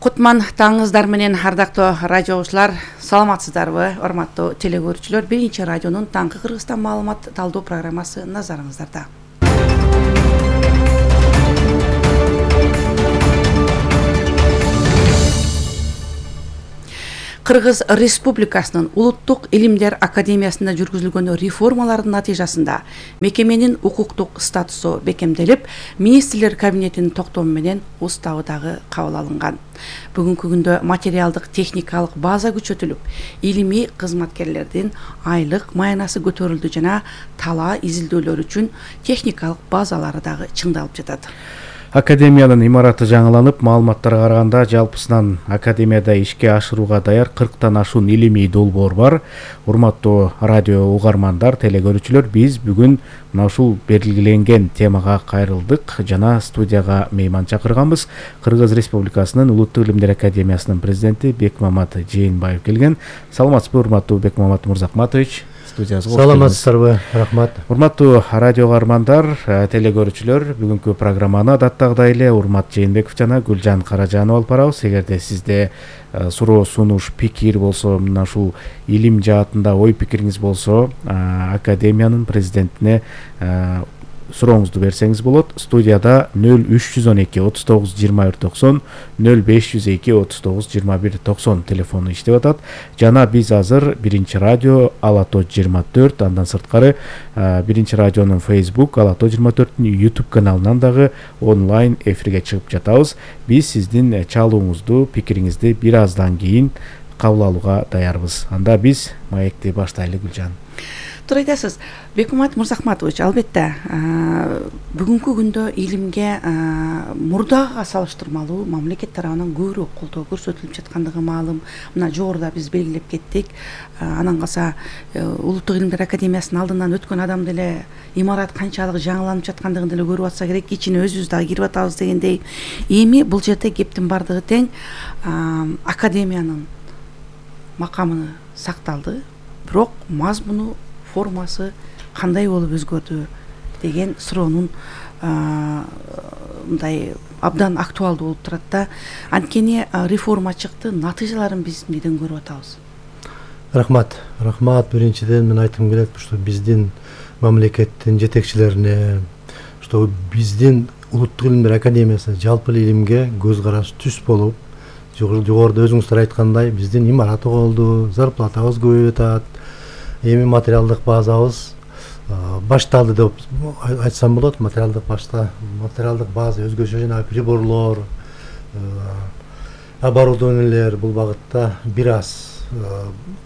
Кутман таңыңыздар менен ардактуу радио угуучулар, саламатсыздарбы? Урматтуу телекөрүүчүлөр, биринчи радионун таңкы Кыргызстан маалымат талдоо программасы назарыңыздарда. Кыргыз Республикасынын Улуттук илимдер академиясында жүргүзүлгөн реформалардын натыйжасында мекеменин укуктук статусу бекемделип, министрлер кабинетинин токтому менен уставы дагы кабыл алынган. Бүгүнкү күндө материалдык техникалык база күчөтүлүп, илимий кызматкерлердин айлык маянасы көтөрүлдү жана талаа изилдөөлөр үчүн техникалык базалары дагы чыңдалып жатат. Академиянын имараты жаңыланып, маалыматтарга караганда жалпысынан академияда ишке ашырууга даяр 40тан ашуун илимий долбоор бар. Урматтуу радио угармандар, телекөрүүчүлөр, биз бүгүн мына ушул белгиленген темага кайрылдык жана студияга мейман чакырганбыз. Кыргыз Республикасынын Улуттук илимдер академиясынын президенти Бекмамат Жээнбаев келген. Саламатсызбы, урматтуу Бекмамат Мырзахматович? Саламатсыздарбы, рахмат. Урматтуу радио угармандар, телекөрүүчүлөр, бүгүнкү программаны адаттагыдай эле Урмат Жээнбеков жана Гүлжан Каражанова алып барабыз. Эгерде сизде суроо, сунуш, пикир болсо, мына ушул илим жаатында ой пикириңиз болсо, академиянын президентине сурооңузду берсеңиз болот. Студияда 0312 39 21 90, 0502 39 21 90 телефону иштеп атат. Жана биз азыр биринчи радио Алато 24, андан сырткары биринчи радионун Facebook Алато 24-тün YouTube каналынан дагы онлайн эфирге чыгып жатабыз. Биз сиздин чалууңузду, пикириңизди бир аздан кийин кабыл алууга даярбыз. Анда биз маекти баштайлы, Гүлжан. Туура айтасыз, Бекмамат Мырзахматович, албетте бүгүнкү күндө илимге мурдага салыштырмалуу мамлекет тарабынан көбүрөөк колдоо көрсөтүлүп жаткандыгы маалым. Мына жогоруда биз белгилеп кеттик. Анан калса Улуттук илимдер академиясынын алдынан өткөн адам деле имарат канчалык жаңыланып жаткандыгын деле көрүп атса керек, ичине өзүбүз дагы кирип атабыз дегендей. Эми бул жерде кептин бардыгы тең, академиянын макамы сакталды, бирок мазмуну, формасы кандай болуп өзгөрдү деген суроонун мындай абдан актуалдуу болуп турат да. Анткени реформа чыкты, натыйжаларын биз эмнеден көрүп атабыз? Рахмат. Биринчиден мен айткым келет, что биздин мамлекеттин жетекчилерине, что биздин Улуттук илимдер академиясы жалпы илимге көз карашы түз болуп, жогоруда өзүңүздөр айткандай, биздин имарат болду, зарплатабыз көбөйүп атат. Эми материалдык базабыз башталды деп айтсам болот. Материалдык база өзгөчө жана приборлор, оборудованиелер бул багытта бир аз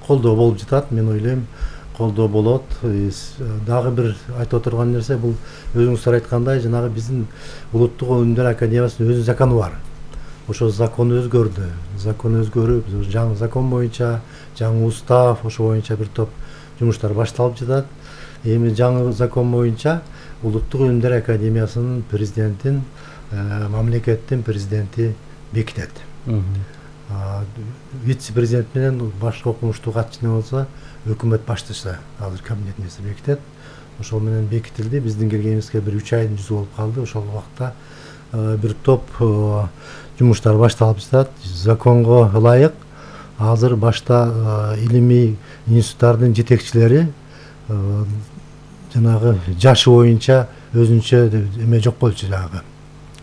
колдоо болуп жатат. Мен ойлойм, колдоо болот. Дагы бир айтып отурган нерсе, бул өзүңүздөр айткандай, жанагы биздин Улуттук илимдер академиясынын өзүнүн закону бар. Ошо закон өзгөрдү. Закон өзгөрүп, жаңы закон боюнча, жаңы устав, ошо боюнча бир топ жумуштар башталып жатат. Эми жаңы закон боюнча Улуттук илимдер академиясынын президентин мамлекеттин президенти бекитет. Вице-президент менен башкы окумуштуу катчыны болсо өкмөт баштышы азыр кабинет нерсе бекитет. Ошол менен бекитилди. Биздин келгенибизге бир 3 айдын жүзү болуп калды. Ошол убакта бир топ жумуштар башталып жатат. Законго ылайык азыр башта илимий институттардын жетекчилери жанагы жашы боюнча өзүнчө эме жок болчу, жанагы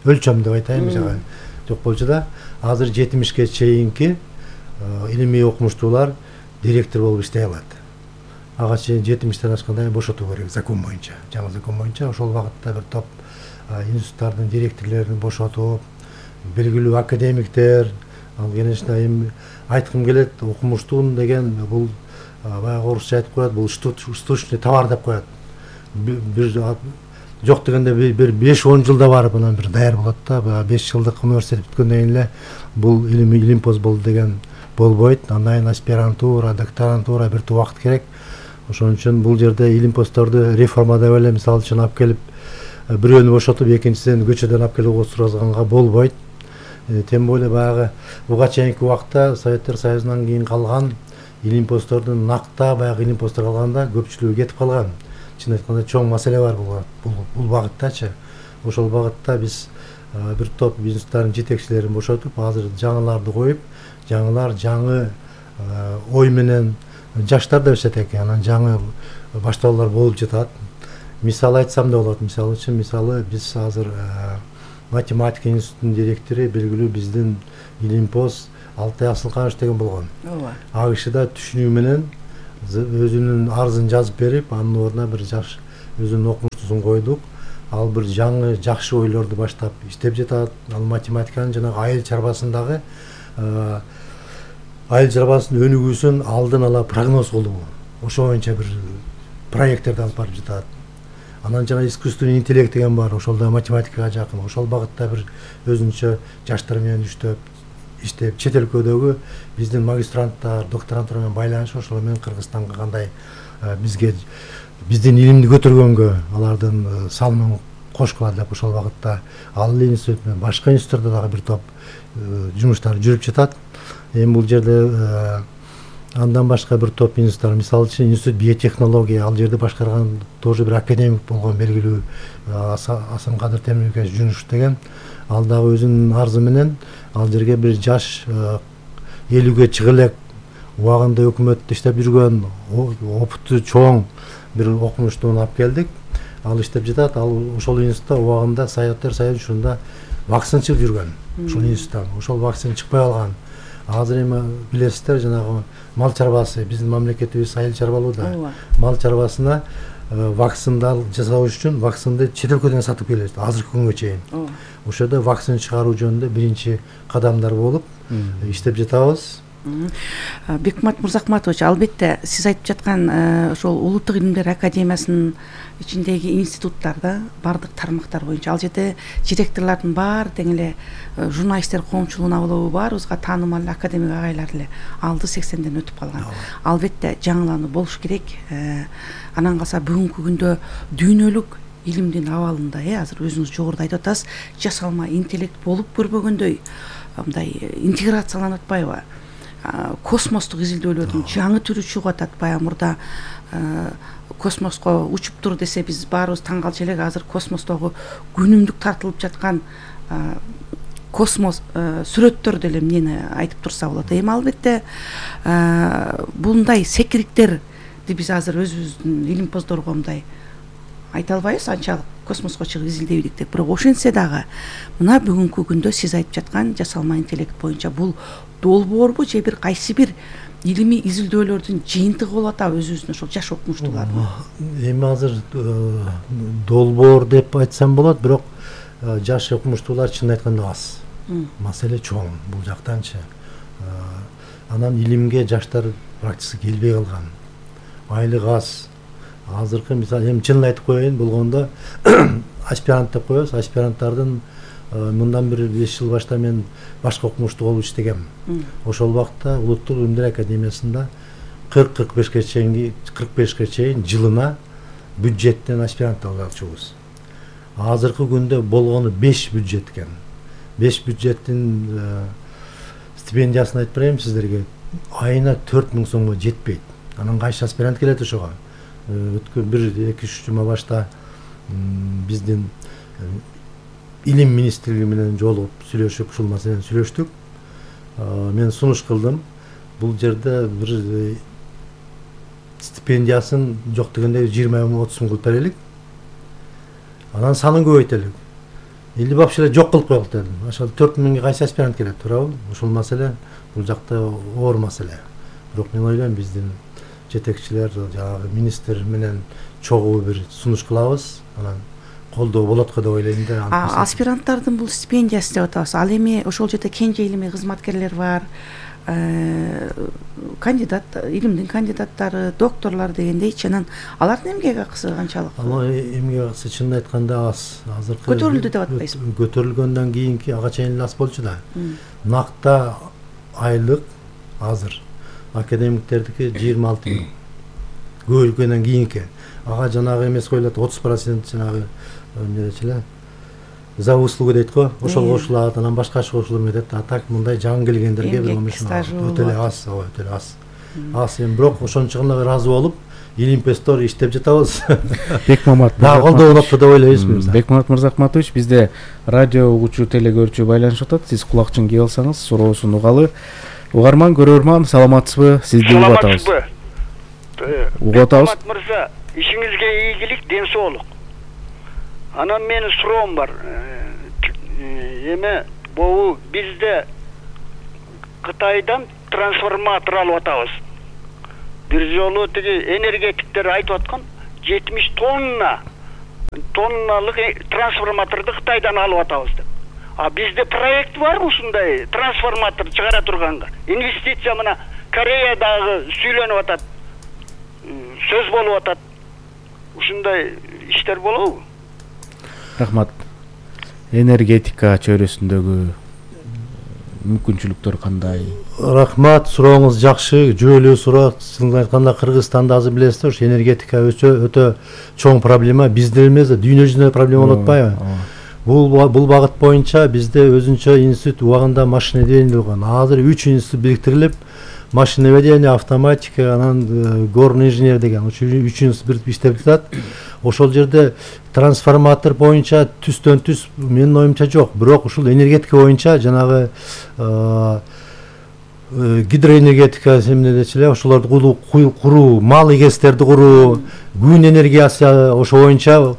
өлчөм деп айтайын, жок болчу да. Азыр 70ге чейинки илимий окумуштуулар директор болуп иштей алат. Ага чейин 70тен ашканда бошотуу керек закон боюнча, жаңы закон боюнча. Ошол багытта бир топ институттардын директорлорун бошотуп, белгилүү академиктер, ал конечно эми айткым келет, окумуштуун деген бул баягы орусча айтып коет, бул штучный товар деп коет. Бир жок дегенде бир 5-10 жылда барып анан бир даяр болот да. 5 жылдык университет бүткөндөн кийин эле бул илимпоз болду деген болбойт. Андан кийин аспирантура, докторантура бир топ убакыт керек. Ошон үчүн бул жерде илимпоздорду реформа деп эле мисалы үчүн алып келип бирөөнү бошотуп, экинчисин көчөдөн алып келип отургузганга болбойт. Тем более баягы буга чейинки убакта Советтер Союзунан кийин калган илимпоздордун накта баягы илимпоздор калганда көпчүлүгү кетип калган. Чын айтканда чоң маселе бар бул багыттачы. Ошол багытта биз бир топ институттардын жетекчилерин бошотуп азыр жаңыларды коюп, жаңылар жаңы ой менен жаштар да өсөт экен, анан жаңы баштоолор болуп жатат. Мисал айтсам да болот. Мисалы үчүн, биз азыр математика институтунун директору белгилүү биздин Илимпоз Алтай Асылканович деген болгон. ооба. Ал киши да түшүнүү менен өзүнүн арызын жазып берип, анын ордуна бир жаш өзүнүн окумуштуусун койдук. Ал бир жаңы жакшы ойлорду баштап иштеп жатат. Ал математиканын жанагы айыл чарбасындагы айыл чарбасынын өнүгүүсүн алдын ала прогноз кылуу, ошо боюнча бир проекттерди алып барып жатат. Анан жана искусственный интеллект деген бар, ошол да математикага жакын. Ошол багытта бир өзүнчө жаштар менен иштеп, чет өлкөдөгү биздин магистранттар, докторанттар менен байланыш, ошол менен Кыргызстанга кандай биздин илимди көтөргөнгө алардын салымын кошкула деп ошол багытта ал институт менен башка институттарда дагы бир топ жумуштар жүрүп жатат. Эми бул жерде андан башка бир топ институттар, мисалы үчүн институт биотехнология, ал жерде башкарган тоже бир академик болгон белгилүү Асанкадыр Темирбекович Жунушев деген, ал дагы өзүнүн арзы менен ал жерге бир жаш 50-ге чыга элек убагында өкмөттө иштеп жүргөн опыты чоң бир окумуштууну алып келдик. Ал иштеп жатат. Ал ошол институтта убагында Союздар Союзу учурунда вакцина чыгып жүргөн. Ошол институттан ошол вакцина чыкпай калган. Азыр эми билесиздер, жанагы мал чарбасы, биздин мамлекетибиз айыл чарбалуу да. Мал чарбасына вакцина жасоо үчүн вакцинаны чет өлкөдөн сатып келет азыркы күнгө чейин. Ошодо вакцина чыгаруу жөнүндө биринчи кадамдар болуп иштеп жатабыз. Бекмамат Мырзахматович, албетте сиз айтып жаткан ошол Улуттук илимдер академиясынын ичиндеги институттарда бардык тармактар боюнча ал жерде директорлордун баары тең эле журналисттер коомчулугуна болобу баарыбызга таанымал академик агайлар эле алды 80ден өтүп калган. Албетте жаңылануу болуш керек. Анан калса бүгүнкү күндө дүйнөлүк илимдин абалында азыр өзүңүз жогоруда айтып атасыз, жасалма интеллект болуп көрбөгөндөй мындай интеграцияланып атпайбы? Космостук изилдөөлөрдүн жаңы түрү чыгып атат. Баягы мурда космоско учуп тур десе биз баарыбыз таң калчу элек. Азыр космостогу күнүмдүк тартылып жаткан космос сүрөттөр деле эмнени айтып турса болот. Эми албетте бундай секириктерди биз азыр өзүбүздүн илимпоздорго мындай айта албайбыз, анчалык космоско чыгып изилдебедик деп. Бирок ошентсе дагы мына бүгүнкү күндө сиз айтып жаткан жасалма интеллект боюнча бул долбоорбу же бир кайсы бир илимий изилдөөлөрдүн жыйынтыгы болуп атабы өзүбүздүн ошол жаш окумуштуулардын? Эми азыр долбоор деп айтсам болот, бирок жаш окумуштуулар чын айтканда аз. Маселе чоң бул жактанчы. Анан илимге жаштар практически келбей калган. Айлык аз. Азыркы мисалы эми чынын айтып коеюн болгондо аспирант деп коебуз. Аспиранттардын мындан бир 5 жыл башта мен башка окумуштуу болуп иштегем. Ошол убакта Улуттук илимдер академиясында 45-ке чейин жылына бюджеттен аспирант алып алчубуз. Азыркы күндө болгону 5 бюджет экен. 5 бюджеттин стипендиясын айтып берейин сиздерге. Айына 4000 сомго жетпейт. Анан кайсы аспирант келет ошого? Өткөн 1-2-3 жума башта биздин илим министрлиги менен жолугуп сүйлөшүп, ушул маселени сүйлөштүк. Мен сунуш кылдым. Бул жерде бир стипендиясын жок дегенде 20-30 сом кылып берелик. Анан санын көбөйтөлүк. Или вообще эле жок кылып коелук дедим. Ошол 4000ге кайсы аспирант келет, туурабы? Ошол маселе бул жакта оор маселе. Бирок мен ойлойм биздин жетекчилер, жанагы министр менен чогуу бир сунуш кылабыз. Анан колдоо болот го деп ойлойм да. Аспиранттардын бул стипендиясы деп атабыз. Ал эми ошол жерде кенже илимий кызматкерлер бар, кандидат, илимдин кандидаттары, докторлор дегендейчи. Анан алардын эмгек акысы канчалык? Эмгек акысы чынын айтканда аз. Азыркы көтөрүлдү деп атпайсызбы? Көтөрүлгөндөн кийинки ага чейин аз болчу да. Накта айлык азыр академиктердики 26 000. Көбөйгөндөн кийинки. Ага жанагы эмес коюлат, 30% жанагы эмнечиле за услугу дейт го, ошол кошулат, анан башка кошулуп кетет. А так мындай жаңы келгендерге бир өтө эле аз, өтө эле аз. Аз эми бирок ошончо гана ыраазы болуп, Илимпестор иштеп жатабыз. Бекмамат дагы колдоо болот деп ойлойбуз. Бекмамат Мырзахматович, бизде радио угуучу, телегөрүүчү байланышып атат. Сиз кулакчын кийип алсаңыз, суроосун угалы. Угарман, көрөрман, саламатсызбы? Сизди угуп атабыз. Угуп атабыз. Бекмамат мырза, ишиңизге ийгилик, ден соолук. Анан менин суроом бар. Эме бул бизде Кытайдан трансформатор алып атабыз. Бир жолу тиги энергетиктер айтып аткан 70 тонналык трансформаторду Кытайдан алып атабыз деп. А бизде проект бар ушундай трансформатор чыгара турганга. Инвестиция мына Кореядагы сүйлөнүп атат. Сөз болуп атат. Ушундай иштер болобу? Рахмат. Энергетика чөйрөсүндөгү мүмкүнчүлүктөр кандай? Рахмат, сурооңуз жакшы, жүйөлүү суроо. Чынын айтканда Кыргызстанда азыр билесиздер, энергетика өтө чоң проблема. Бизде эмес, дүйнө жүзүндө проблема болуп атпайбы? Бул багыт боюнча бизде өзүнчө институт убагында машиноведение болгон. Азыр 3 институт бириктирилип, машиноведение, автоматика, анан горный инженер деген 3 институт бирикип иштеп жатат. Ошол жерде трансформатор боюнча түстөн түз менин оюмча жок. Бирок ушул энергетика боюнча жанагы гидроэнергетика семнедечиле ошолорду куруу, мал эгестерди куруу, күн энергиясы ошо боюнча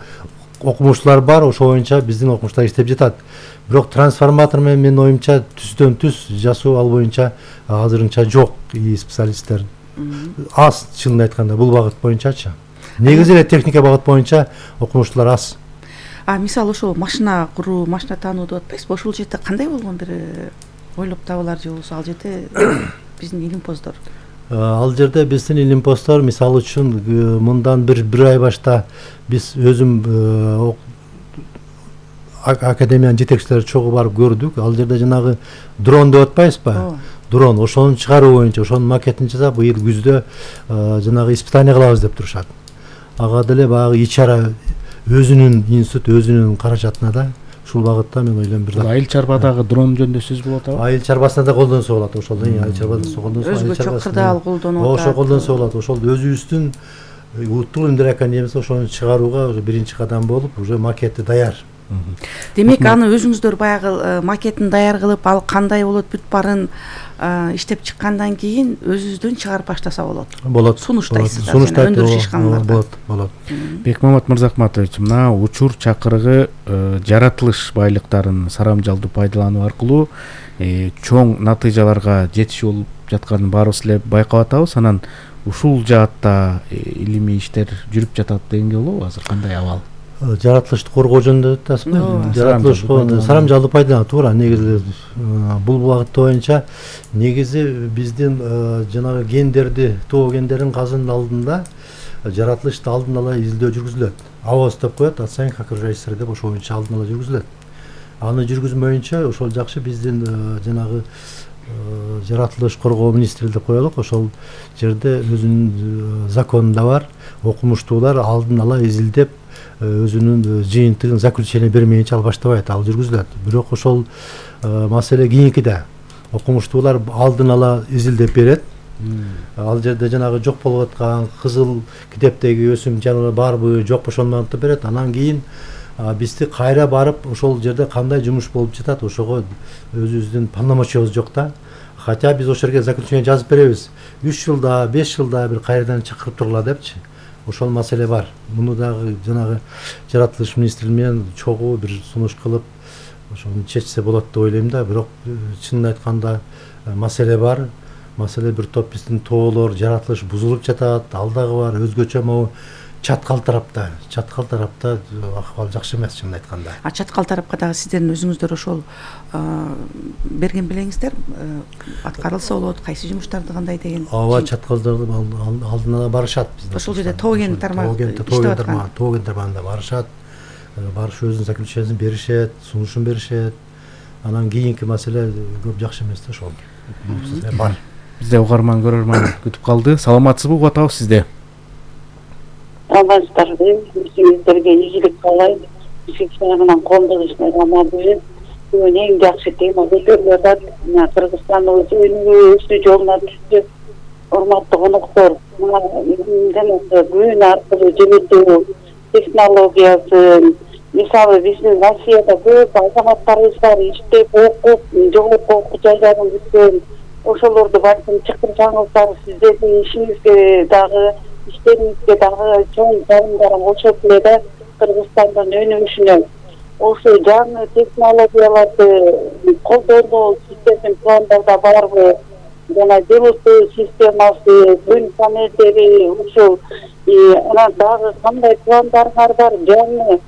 окумуштуулар бар, ошо боюнча биздин окумуштар иштеп жатат. Бирок трансформатор менен оюмча түстөн түз жасоо ал боюнча азырынча жок специалисттер. Аз, чынын айтканда, бул багыт боюнчачы. Негизи эле техника багыт боюнча окумуштуулар аз. Мисалы ошол машина куруу, машина таануу деп атпайсызбы? Ошол жерде кандай болгон бир ойлоп табылар же болбосо ал жерде биздин илимпоздор? Ал жерде биздин илимпоздор мисалы үчүн мындан бир ай башта биз өзүм академиянын жетекчилери чогуу барып көрдүк. Ал жерде жанагы дрон деп атпайсызбы? Дрон, ошону чыгаруу боюнча, ошонун макетин жасап, быйыл күздө жанагы испытание кылабыз деп турушат. Ага деле баягы ичара өзүнүн институт, өзүнүн каражатына да ушул багытта мен ойлойм бир Айыл чарбадагы дрон жөнүндө сөз болот атабы? Айыл чарбасында да колдонсо болот, ошол айыл чарбасында колдонсо. Өзгөчө кырдаал колдонуп атат. Ошо колдонсо болот. Ошол өзүбүздүн уттук өндөр академиясы ошону чыгарууга уже биринчи кадам болуп, уже макети даяр. Демек аны өзүңүздөр баягы макетин даяр кылып, ал кандай болот бүт барын иштеп чыккандан кийин өзүңүздөн чыгарып баштаса болот. Болот. Сунуштайсыздар, өндүрүш ишканаларга. Болот. Бекмамат Мырзахматович, мына учур чакырыгы жаратылыш байлыктарын сарамжалдуу пайдалануу аркылуу чоң натыйжаларга жетишүү болуп жатканын баарыбыз эле байкап атабыз. Анан ушул жаатта илимий иштер жүрүп жатат дегенге болобу? Азыр кандай абал? Жаратылышты коргоо жөнүндө атасызбы? Жаратылышты сарамжалдуу пайдалануу туура. Негизи бул багыт боюнча негизи биздин жанагы гендерди, тоо гендерин казынын алдында жаратылышты алдын ала изилдөө жүргүзүлөт. АОС деп коет, оценка окружающей среды деп ошол боюнча алдын ала жүргүзүлөт. Аны жүргүзмөйүнчө ошол жакшы биздин жанагы жаратылыш коргоо министри деп коелук, ошол жерде өзүнүн законунда бар, окумуштуулар алдын ала изилдеп өзүнүн жыйынтыгын заключение бермейинче ал баштабайт, ал жүргүзүлөт. Бирок ошол маселе кийинкиде окумуштуулар алдын ала изилдеп берет. Ал жерде жанагы жок болуп аткан кызыл китептеги өсүм жаныбар барбы, жокпу ошону антып берет. Анан кийин бизди кайра барып ошол жерде кандай жумуш болуп жатат, ошого өзүбүздүн полномочиябыз жок да. Хотя биз ошол жерге заключение жазып беребиз. 3 жылда, 5 жылда бир кайрадан чакырып тургула депчи. Ошол маселе бар. Муну дагы жанагы жаратылыш министри менен чогуу бир сунуш кылып, ошону чечсе болот деп ойлойм да. Бирок чынын айтканда маселе бар. Маселе бир топ биздин тоолор, жаратылыш бузулуп жатат. Ал дагы бар. Өзгөчө могу чаткал тарапта акыбал жакшы эмес, чынын айтканда. Чаткал тарапка дагы сиздердин өзүңүздөр ошол берген белеңиздер аткарылса болот, кайсы жумуштарды кандай деген. Ооба, чаткалдарды алдын ала барышат биздин. Ошол жерде тоген тармагында барышат. Барыш өзүнүн заключениесин беришет, сунушун беришет. Анан кийинки маселе көп жакшы эмес да ошол. Бар. Бизде угарман, көрөрман күтүп калды. Саламатсызбы, угуп атабыз сизде. Саламатсыздарбы, сиздерге ийгилик каалайм. Сиздердин коомдогушуна камар берип, бүгүн эң жакшы тема көтөрүлүп атат. Кыргызстан өзүнүн жолуна түштү. урматтуу коноктор, күн аркылуу жөнөтүү технологиясын, мисалы биздин Россияда көп азаматтарыбыз бар, иштеп, окуп, жогорку окуу жайларын бүткөн. Ошолорду балким чакырсаңыздар, сиздердин ишиңизге дагы, иштериңизге дагы чоң жардам болушат эле да, Кыргызстандын өнүгүшүнө. Ошо жаңы технологияларды колдонуу сиздердин пландарда барбы? Жана жылытуу системасы, күн панелдери, ушул анан дагы кандай пландарыңар бар? Жаңы